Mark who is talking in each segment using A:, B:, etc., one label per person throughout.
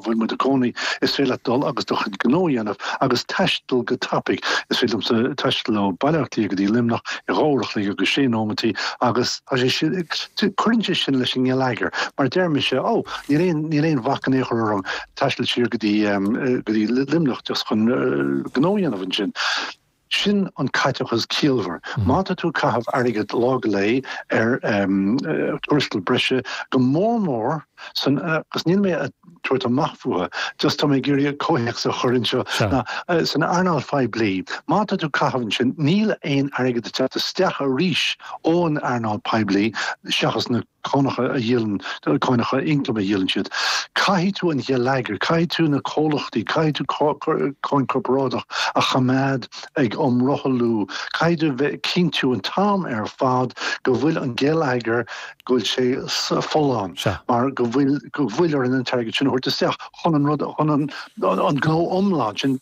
A: bhfuil muid ag cónaí, is féidir leat dul agus do chuid gnó a dhéanamh agus taisteal go tapaidh. Is féidir liomsa taisteal ó Baile Átha Cliath go dtí Luimneach i 2 uair a chloig agus sé nóimeataí agus tá sé sin, cuireann sé sin leis an ngeilleagar mar deir mise, ó, níl aon, níl aon bhac in aon chor orm taisteal siar go dtí, go dtí Luimneach just chun gnó a dhéanamh ansin. Sin an caiteachas ciallmhar. Má tá tú ag caitheamh airgead lá go lae ar tuarastal breise, go mór mór san, agus níl mé ag tabhairt amach fúthu, just tá mé ag iarraidh comhthéacs a chur anseo, ná san earnáil phoiblí, má tá tú ag caitheamh ansin, níl aon airgead ag teacht isteach arís ón earnáil poiblí seachas na. cánacha a dhíolann, cánacha ioncaim a dhíolann siad. Caithfidh tú an gheilleagar, caithfidh tú na comhlachtaí, caithfidh tú cáin corparáideach a choimeád ag iomrothlú, caithfidh tú bheith ag cinntiú an t-am ar fad go bhfuil an geilleagar, go bhfuil sé folláin, mar go bhfuil, go bhfuil orainn an t-airgead sin a thabhairt isteach chun an rud, chun an gnó iomlán, sin,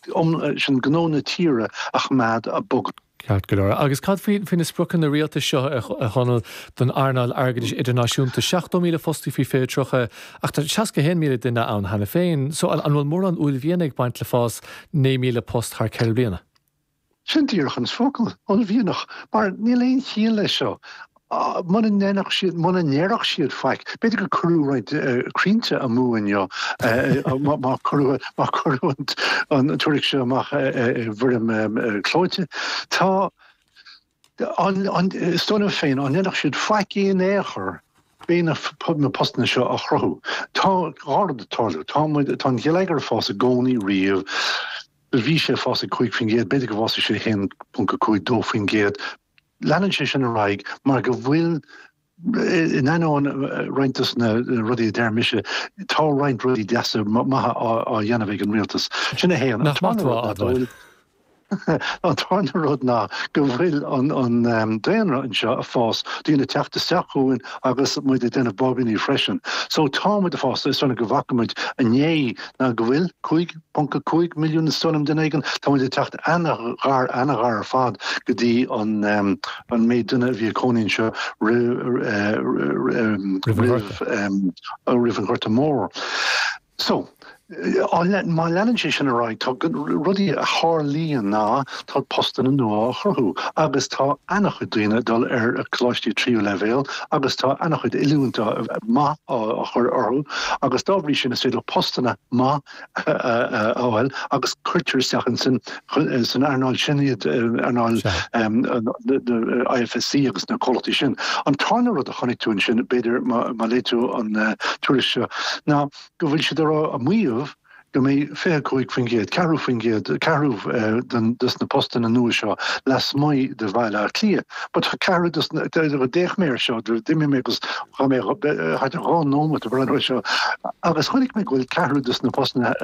A: sin gnó na tíre a choimeád ag bogadh.
B: Ceart go leor. Agus cad faoi na spriocanna rialtais seo, a Chonaill, don earnáil airgeadais idirnáisiúnta? 70,000 fostaí faoi 2030, ach tá 61,000 duine ann cheana féin. So, an bhfuil mórán uaillmhiana ag baint le fás 9,000 post thar 4 bliana?
A: Sin díreach an focal, uaillmhianach, mar níl aon chiall leis seo. Muna ndéanfadh siad, muna ndéarfadh siad faic, b'fhéidir gur cuireadh roinnt crainnte amú inniu má cuireadh, má cuireadh an tuairisc seo amach i bhfoirm clóite. Tá, is dóigh liom féin, dá ndéanfadh siad faic in aon chor, beidh na postanna seo á chruthú. Tá dhá rud ag tarlú. Tá muid, tá an geilleagar ag fás i gcónaí riamh. Bhí sé ag fás ag 5%, b'fhéidir go bhfásfaidh sé 1.5, 2%. Leanann sé sin ar aghaidh mar go bhfuil, in ainneoin roinnt dos na rudaí a deir mise, tá roinnt rudaí deasa maithe á dhéanamh ag an rialtas. Sin 1.
B: Nach maith tú a admháil.
A: An tarna rud ná go bhfuil an daonra anseo ag fás, daoine ag teacht isteach chugainn agus muid ag déanamh báibíní freisin. So tá muid ag fás, is dóigh liom go bhfaca muid inné ná go bhfuil 5, 0.5 milliún is dóigh liom duine éigin. Tá muid ag teacht an-ghar, an-ghar ar fad go dtí an an méid duine a bhí ag cónaí anseo roimh roimh an Ghorta Mór. So, má leanann sé sin ar aghaidh, tá rudaí a tharlaíonn ná tá postanna nua á chruthú agus tá an-chuid daoine ag dul ar coláistí tríú leibhéal agus tá an-chuid oiliúint maith á chur orthu agus dá bhrí sin is féidir postanna maith a fháil agus cuirtear isteach ansin san earnáil sin iad, earnáil IFSC agus na comhlachtaí sin. An tarna rud a chonaic tú ansin, b'fhéidir má léigh tú an tuairisc seo, ná go bhfuil siad ag rá, ag maíomh go mbeidh 25%, ceathrú faoin gcéad, ceathrú dos na postanna nua seo lasmuigh de Bhaile Átha Cliath. But tá ceathrú dos na, d'fhéach mé air seo, d'imigh mé agus Chaith mé thart ar 2 nóiméad ag breathnú air seo agus chonaic mé go bhfuil ceathrú dos na postanna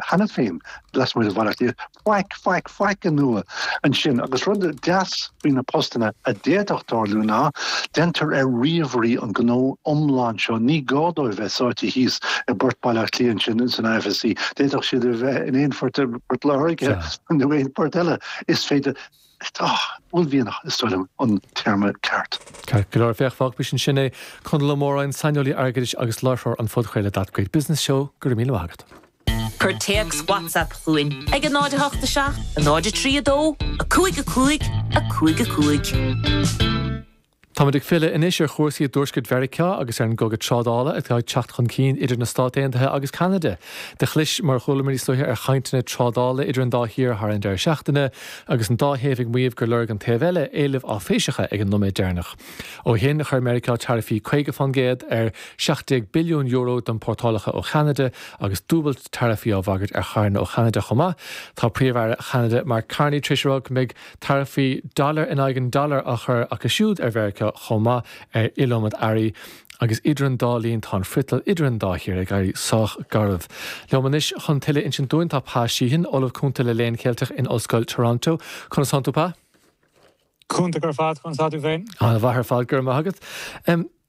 A: cheana féin lasmuigh de Bhaile Átha Cliath. Faic, faic, faic nua ansin agus rud deas faoi na postanna a d'fhéadfadh tarlú ná déantar ar ríomhairí an gnó iomlán seo. Ní gá dóibh bheith sáite thíos i bPort Baile Átha Cliath ansin san IFSC. D'fhéadfadh siad a bheith in aon phort i bPort Láirge nó aon phort eile. Is féidir. Uaillmhianach, is dóigh liom, an téarma ceart.
B: Ceart go leor, féach, fágfaimid ansin é. Conall Ó Móráin, saineolaí airgeadais agus láithreoir an phodchraoladh That Great Business Show, go raibh míle maith agat.
C: Cuir téacs WhatsApp chugainn ag 0 8 7 0 3 2 5 5 5 5.
B: Táimid ag filleadh anois ar chúrsaí i dTuaisceart Mheiriceá agus ar an gcogadh trádála atá ag teacht chun cinn idir na Stáit Aontaithe agus Ceanada. Do chlis, mar a chualamar níos luaithe, ar chainteanna trádála idir an dá thír thar an deireadh seachtaine agus an dá thaobh ag maíomh gur lorg an taobh eile éilimh áiféiseacha ag an nóiméad deireanach. Ó shin, chuir Meiriceá taraifí 50% ar €17 billiún d'iompórtálacha ó Cheanada agus dúbailt taraifí á bhagairt ar charranna ó Cheanada chomh maith. Tá Príomh-Aire Cheanada Mark Carney tar éis a rá go mbeidh Taraifí dollar in aghaidh an dollar á chur acu siúd ar Mheiriceá chomh maith ar iliomad earraí agus idir an dá linn tá an friotal idir an dá thír ag éirí sách garbh. Liom anois chun tuilleadh a insint dúinn tá Pa Sheehan, Ollamh Cúnta le Léann Ceilteach in Ollscoil Toronto. Conas tánn tú, Pa?
D: Iontach ar fad, conas tá tú féin?
B: An-mhaith ar fad, go raibh maith agat.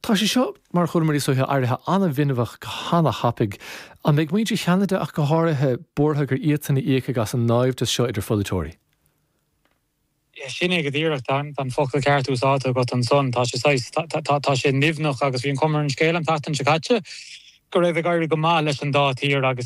B: Tá sé seo, mar a chualamar níos luaithe, éirithe an-bhinbeach go han-thapaidh. An mbeidh muintir Cheanada ach go háirithe, buartha gur iadsan a íocfaidh as an naimhdeas seo idir pholaiteoirí?
D: Sin é go díreach. Tá an focal ceart úsáidte agat ansan. Tá sé saghas, tá sé nimhneach agus bhí an chuma ar an scéal an tseachtain seo caite go raibh ag éirí go maith leis an dá thír agus iad.